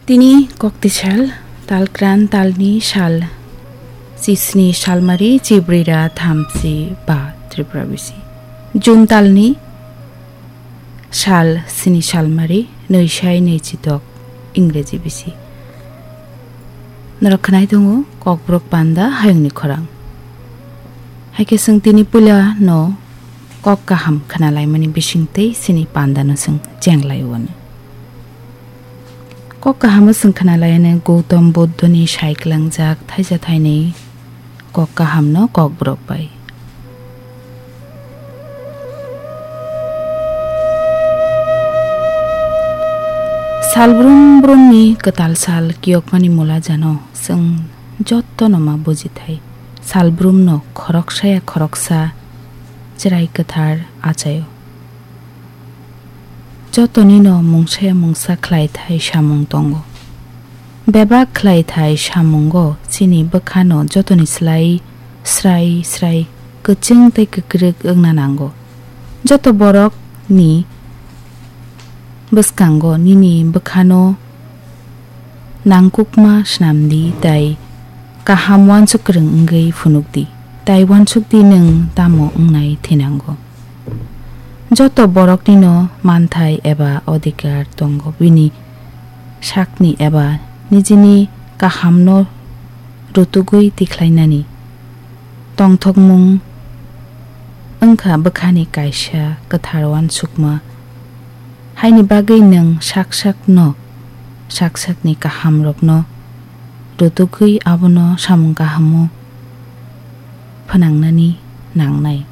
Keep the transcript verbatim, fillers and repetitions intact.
Tini kokti sal, talkran talni sal, chisni salmari, chibrira thamchi ba Tripura bisi. June talni sal sini salmari, nwi sai nwi chitok Ingreji bisi. Norok khwnai tongo Kokborok panda hayungni khorang. Haikhe chwng tini puila no kok kaham khwnalaimani bisingtwi sini panda no chwng chenglai wano. Kok kaham o chwng khwnalaiano Gautam Buddhoni sai kwlangjak thaisa thainwi kok kahamno Kokborok bai. Salbrum brumni kwtal sal kiyokmani mula jano chwng jottono ma bujithai. Salbrumno khoroksaya khoroksa chwrai kwthar achaio. Jotonino mungsaya mungsa khlaithai samung tongo. Bebak khlaithai samungo chini bwkhano jotoni slai srai srai kwchwng tei kwkrwk wngna nango. Joto borokni bwskango nini bwkhano nangkukma swnamdi tei kaham uansuk kwrwng wngwi phunukdi, tei uansukdi nwng tamo wngnai thinango. Joto boroknino manthai eba odhikar tongo bini sakni eba nijini kahamno rutugwi tikhlainani. Tongthokmung wngkha bwkhani kaisa kwthar uansukma. Haini bagwi nwng sak sakno, sak sakni kahamrokno rutugwi abono samung kahamo phnangnani nangnai.